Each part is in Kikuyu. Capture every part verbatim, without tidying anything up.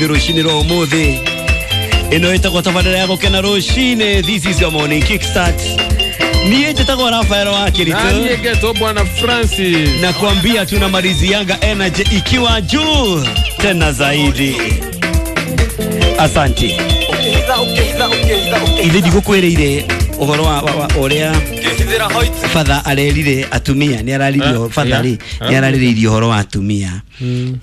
Rũcinĩ rwa ũmũthĩ ĩno ĩtagwo tabarĩra ya gũkena rũcinĩ. This is your morning kickstart. Niĩ njĩtagwo Rafael wa Kirito. Nani ngetwo Bwana Francis. Na kuambia tunamalizianga energy ikiwa juu tena zaidi. Asante. Ithe ndigũkwĩrĩire ũhoro wa ũrĩa father arerire atumia, nĩ araririe father rĩ, nĩ ararĩrĩirie ũhoro wa atumia.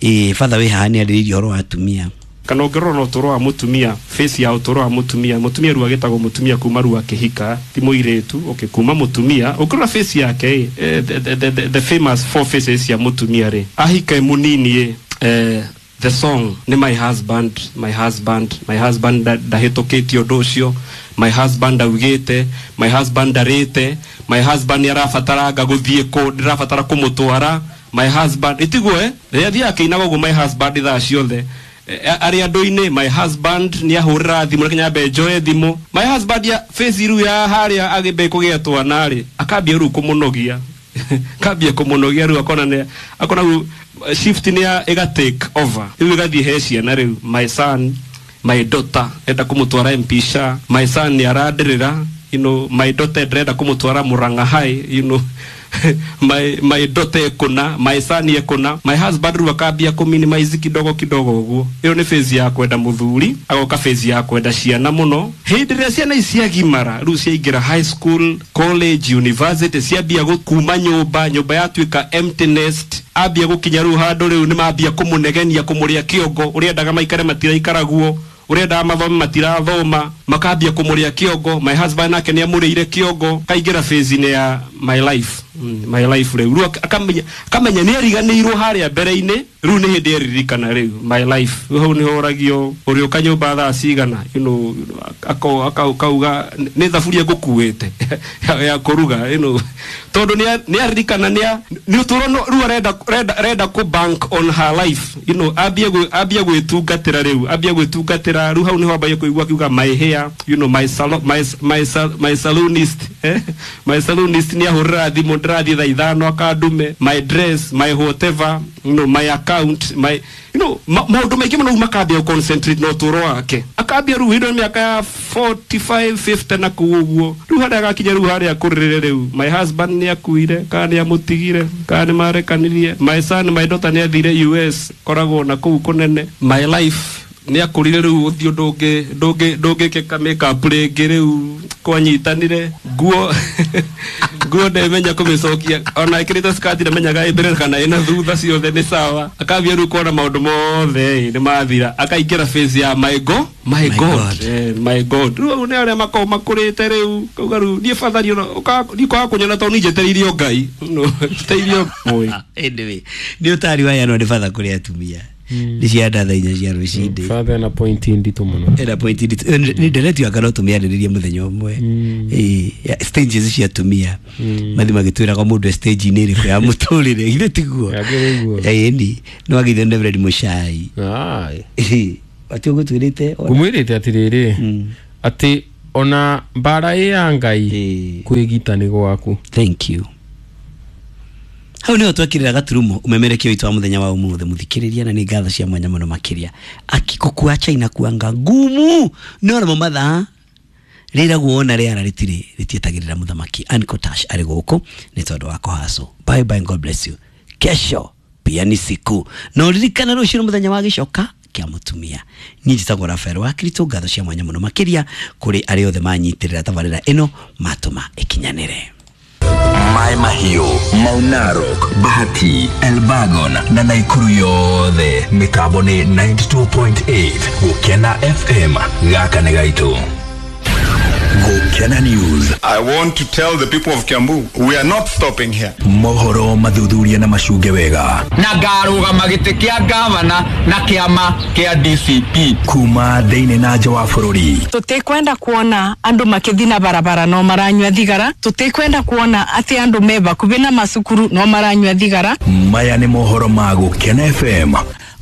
Ĩ father wĩ haha nĩ arĩrĩirie ũhoro wa atumia. Kana ũngĩrora na ũtũũro wa mũtumia, face ya ũtũũro wa mũtumia, mũtumia rĩu agĩtagwo mũtumia kuma rĩu akĩhika, ti mũirĩtu, okay, kuma mũtumia, ũngĩrora face yake, eh, the, the, the, the famous four faces ya mũtumia rĩ, ahika mũnini ĩ, eh, the song ni my husband, my husband, my husband ndahĩtũkĩtie ũndũ ũcio, my husband augĩte, my husband ndarĩte, my husband nĩ arabataranga gũthiĩ kũ, ndĩrabatara kũmũtwara, my husband, ĩtiguo eh, rĩrĩa athiaga akĩinaga ũguo my husband thaa ciothe, arĩ andũ-inĩ, my husband nĩ ahũrĩra thimũ, reke nyambe njoe thimũ, my husband ya face rĩu ya harĩa agĩmbe kũgĩa twana rĩ, akambia rĩu kũmũnogia, akambia kũmũnogia rĩu akona nĩ, akona rĩu shift nĩ ya ĩga take over, rĩu ĩgathiĩ he ciana rĩu, my son, my daughter, enda kũmũtwara M P S A, my son nĩ arandĩrĩra, you know, my daughter ndĩrenda kũmũtwara Murang'a High, you know, my my daughter ekũna, my son ekũna, my husband rĩu akambia kũ minimize kidogo kidogo ũguo. Ĩyo nĩ phase ya kwenda mũthuri, agoka phase ya kwenda ciana mũno. Hĩndĩ ĩrĩa ciana ici ciagimara, rĩu ciaingĩra high school, college, university, ciambia kuma nyũmba, nyũmba yatuĩka empty nest, ambia gũkinya rĩu handũ rĩu nĩ mambia kũmũnegenia, kũmũrĩa kĩongo, ũrĩa endaga maikare matiraikaragwo, ũrĩa mathome matirathoma, makambia kũmũrĩa kĩongo, my husband nake nĩ amũrĩire kĩongo, kaingĩra phase-inĩ ya my life, mm, my life rĩu, rĩu akamenya akamenya nĩ ariganĩirwo harĩa mbere-inĩ, rĩu nĩ hĩndĩ eririkana rĩu my life, rĩu hau nĩho ũragio ũrĩũka nyũmba thaa cigana, you know, akauga nĩ thaburia ngũkuĩte ya kũruga, you know, tondũ nĩ aririkana nĩ nĩ ũtũũro rĩu arenda arenda kũ bank on her life, you know, ambie ambie gwĩtungatĩra rĩu, ambie gwĩtungatĩra rĩu hau nĩho ambagia kũigua akiuga my hair, you know, my salon, my my my salonist, eh, my salonist nĩ ahũrĩra thimũ ndĩrathiĩ thaa ithano akandume, my dress, my whatever, you know, my account, my, you know, maũndũ maingĩ mũno makambia concentrate na ũtũũro wake, akambia rĩu hĩndĩ mĩaka ya forty-five, fifty na kũu ũguo, rĩu harĩa agakinya rĩu harĩa akũrĩrĩre rĩu, my husband nĩ akuire, kana nĩ amũtigire, kana nĩ marekanirie, my son, my daughter nĩ athire U S, koragwo na kũu kũnene, my life nĩ akũrire rĩu ũthiũ ndũngĩ ndũngĩ ndũngĩkĩka makeup rĩngĩ rĩu kwanyitanire nguo nguo ndemenya kũmĩcokia ona ĩkĩrĩte skirt ndamenyaga ĩ mbere kana ĩna thutha ciothe nĩ sawa, akambia rĩu kuona maũndũ mothe nĩ mathira, akaingĩra phase ya my god, my god, eh, my god, rĩu nĩ arĩa makoragwo makũrĩte rĩu kauga rĩu niĩ father niĩ kwaga kũnyona tondũ niĩ njetereirio Ngai, no njetereirio. Anyway, nĩ ũtari wa yanwo nĩ father kũrĩ atumia nĩ cia thaa inya cia rũcinĩ. Father na point nditũ mũno, ena point nditũ nĩ ndereti aka no tũmĩarĩrĩrie mũthenya ũmwe, ĩ stages cia atumia mathi magĩtwĩraga mũndũ stage-inĩ ĩrĩkũ ya mũtũrĩre, githĩ tiguo? Ĩni no agithio nĩ Reverend Mũchai atĩ ũgũtwĩrĩte ngũmwĩrĩte atĩrĩrĩ atĩ ona mbara ĩ ya Ngai kwĩgita nĩ gwaku. Thank you. Hau nĩho twekĩrĩra gaturumo ũmemerekio witũ wa mũthenya wa ũmũthĩ mũthikĩrĩria, na nĩ ngatho cia mwanya mũno makĩria akikũkua China kuanga ngumu no namo mathaa rĩragwo ona rĩara rĩtirĩ rĩtietagĩrĩra mũthamaki Uncle Tash arĩ gũkũ nĩ tondũ wa kũhacwo. Bye bye, God bless you. Kesho pia ni siku na ũririkane rũciũ mũthenya wa gĩcoka kĩa mũtumia. Niĩ njĩtagwo Rafael wa Kirito, ngatho cia mwanya mũno makĩria kũrĩ arĩa othe manyitĩrĩra tabarĩra ĩno matũma ĩkinyanĩre. Mai Mahiu, Mau Narok, Bahati, Elbagon na Naikuru yothe mitambo ni ninety-two point eight Gukena F M gaka nĩ gaitũ. Gukena News. I want to tell the people of Kiambu, we are not stopping here. Mohoro mathuthuria na macunge wega. Na ngarũgama gĩtĩ kĩa gavana na kĩama kĩa D C P. Kuma thĩinĩ na nja wa bũrũri. Tũtikwenda kuona andũ makĩthiĩ na barabara no maranyua thigara. Tũtikwenda kuona atĩ andũ me bakubi na macukuru no maranyua thigara. Maya nĩ mohoro ma Gukena F M.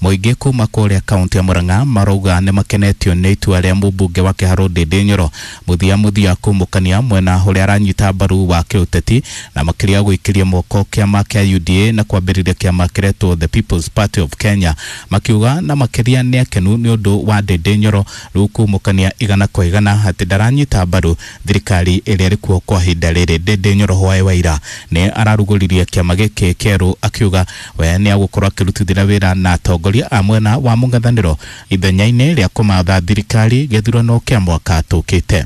Mũingĩ kuma kũrĩa kaunti ya Murang'a marauga nĩ makenetio nĩ itua rĩa mũmbunge wa Kĩharũ Ndĩndĩ Nyoro mũthia mũthia kumũkania mwena ũrĩa aranyita mbaru wa kĩũteti na makĩria gwĩkĩria moko kĩama kĩa U D A na kwambĩrĩria kĩama kĩretwo The People's Party of Kenya, makiuga na makĩria nĩ akenu nĩ ũndũ wa Ndĩndĩ Nyoro rĩu kumũkania igana kwa igana atĩ ndaranyita mbaru thirikari ĩrĩa ĩrĩ kuo kwa ihinda rĩrĩ. Ndĩndĩ Nyoro hwaĩ wa ira nĩ ararugũririe kĩama gĩkĩ kĩerũ akiuga we nĩ agũkorwo akĩrutithĩra wĩra na atongoria a mwena wa mũng'ethanĩro ithenya-inĩ rĩa kũmatha thirikari gĩthurano kĩa mwaka tũkĩte.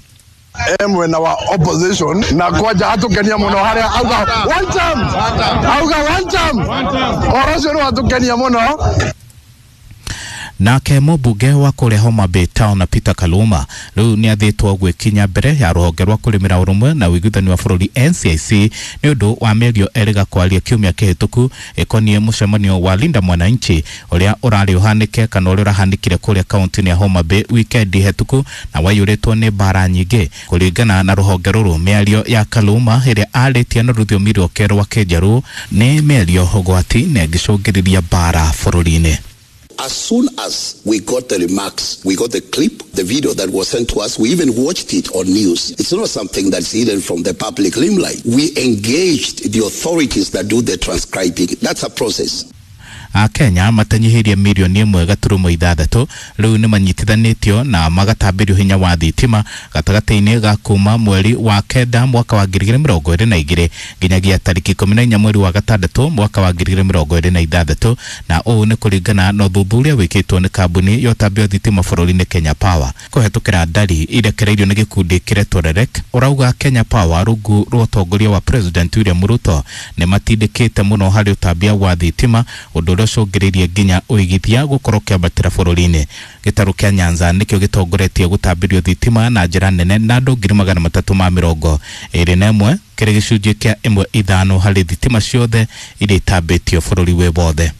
Mwena wa opposition na kwanja atukenia muno haria auga one time, auga one time, oro cio ni watukenia muno. Nake mũmbunge wa kũrĩa Homa Bay Town na Peter Kaluma rĩu nĩ athĩtwo gwĩkinya mbere ya rũhonge rwa kũrĩmĩra ũrũmwe na ũiguithani wa bũrũri N C I C nĩ ũndũ wa mĩario erĩga kwaria kiumia kĩhĩtũku ĩkoniĩ mũcemanio wa Linda Mwananchi ũrĩa ũrarĩ ũhanĩke kana ũrĩa ũrahanĩkire kũrĩa kaunti-inĩ ya Homa Bay wikendi hĩtũku na waiyũrĩtwo nĩ mbara nyingĩ. Kũringana na rũhonge rũrũ, mĩario ya Kaluma ĩrĩa arĩtie na rũthiomi rwake rwa Kĩnjaruo nĩ mĩario ũgwati na ĩngĩcũngĩrĩria mbara bũrũri-inĩ. As soon as we got the remarks, we got the clip, the video that was sent to us, we even watched it on news. It's not something that's hidden from the public limelight. We engaged the authorities that do the transcribing. That's a process. Akenya matanyihĩrie mirioni ĩmwe gaturumo ithathatũ rĩu nĩ manyitithanĩtio na magatambĩrio hinya wa thitima gatagatĩ-inĩ ga kuma mweri wa kenda mwaka wa ngiri igĩrĩ mĩrongo ĩrĩ na igĩrĩ nginyagia tarĩki ikũmi na inya mweri wa gatandatũ mwaka wa ngiri igĩrĩ mĩrongo ĩrĩ na ithathatũ, na ũũ nĩ kũringana na ũthuthuria wĩkĩtwo nĩ kambuni ya ũtambia wa thitima bũrũri-inĩ Kenya Power kũhetũkĩra ndari irekereirio nĩ gĩkundi kĩretwo REREC. Ũrauga Kenya Power rungu rwa ũtongoria wa President William Ruto nĩ matindĩkĩte mũno harĩ ũtambia wa thitima, ũndũ ũrĩa ũcũngĩrĩirie nginya ũigithia gũkorwo kĩambatĩra bũrũri-inĩ. Gĩtarũ kĩa Nyanza nĩkĩo gĩtongoretie gũtambĩrio thitima na njĩra nene na andũ ngiri magana matatũ ma mĩrongo ĩrĩ na ĩmwe kĩrĩ gĩcunjĩ kĩa ĩmwe ithano harĩ thitima ciothe iria itambĩtio bũrũri wĩ wothe.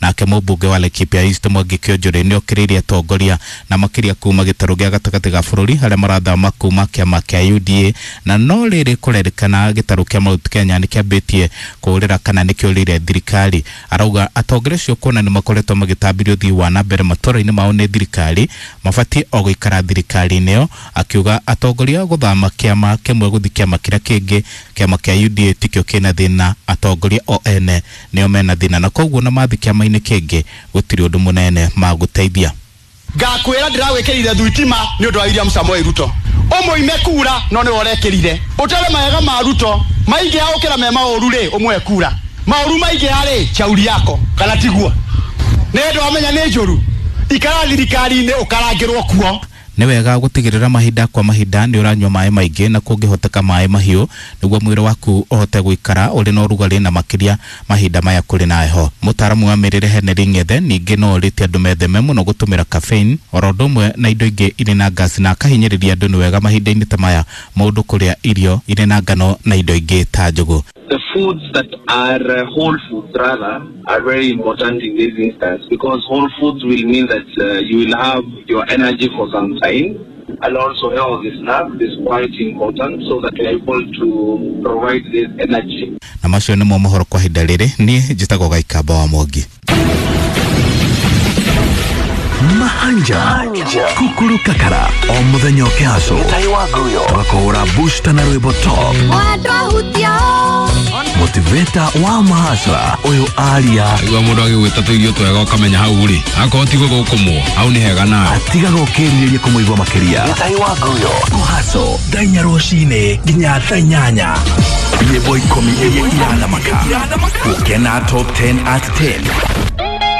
Nake mũmbunge wa Laikipia East Mwangi Kĩonjũrĩ nĩ okĩrĩirie atongoria na makĩria kuma gĩtarũ gĩa gatagatĩ ga bũrũri harĩa marathama kuma kĩama kĩa U D A, na no rĩrĩ kũrerĩkana gĩtarũ kĩa Mount Kenya nĩ kĩambĩtie kũũrĩra kana nĩ kĩũrĩire thirikari. Arauga atongoria acio kuona nĩ makoretwo magĩtambĩrio ũthii wa na mbere matũũra-inĩ mao nĩ thirikari mabatiĩ o gũikara thirikari-inĩ ĩyo, akiuga atongoria gũthama kĩama kĩmwe gũthiĩ kĩama kĩrĩa kĩngĩ, kĩama kĩa U D A tikĩo kĩna thĩna, atongoria o ene nĩo mena thĩna na koguo na mathi kĩama-inĩ kĩngĩ gũtirĩ ũndũ mũnene magũteithia. Ngakwĩra ndĩrawĩkĩrire thitima nĩ ũndũ wa William Samoei Ruto, ũmũime kura no nĩwe ũrekĩrire, ũtere mawega ma Ruto maingĩha gũkĩra me maũru rĩ, ũmũhe kura maũru maingĩha rĩ, chauri yako kana tiguo nĩ ũndũ wamenya nĩ njũru, ikara thirikari-inĩ ũkarangĩrwo kuo. Nĩ wega gũtigĩrĩra mahinda kwa mahinda nĩ ũranyua maĩ maingĩ na kũngĩhoteka maĩ mahiũ nĩguo mwĩrĩ waku ũhote gũikara ũrĩ na ũrugarĩ na makĩria mahinda maya kũrĩ na heho. Mũtaaramu wa mĩrĩre Henry Ng'ethe ningĩ no orĩtie andũ metheme mũno gũtũmĩra caffeine oro ũndũ ũmwe na indo ingĩ irĩ na ngasi, na akahinyĩrĩria andũ nĩ wega mahinda-inĩ ta maya mũndũ kũrĩa irio irĩ na ngano na indo ingĩ ta njũgũ. The foods that are uh, whole foods rather are very important in this instance, because whole foods will mean that uh, you will have your energy for some time, and also healthy snack is quite important so that you are able to provide this energy. Na macio nĩmo mohoro kwa ihinda rĩrĩ, niĩ njĩtagwo Gaikamba wa Mwangi. Mahanja Kukuru Kakara o muthenya ũkĩhaco tũgakũhũra booster na rwĩmbo top motivator wa mahasra ũyũ aria igua mũndũ agĩgwĩta tũirio twega ũkamenya hau rĩ akorwo ti gũgũkũmwo hau nĩ hega nawe atigaga ũkĩrirĩria kũmũigua makĩria kũhaco thaa inya rũcinĩ nginya thaa inyanya nyĩmbo ikũmi iria irathamaka gũkena top ten at ten.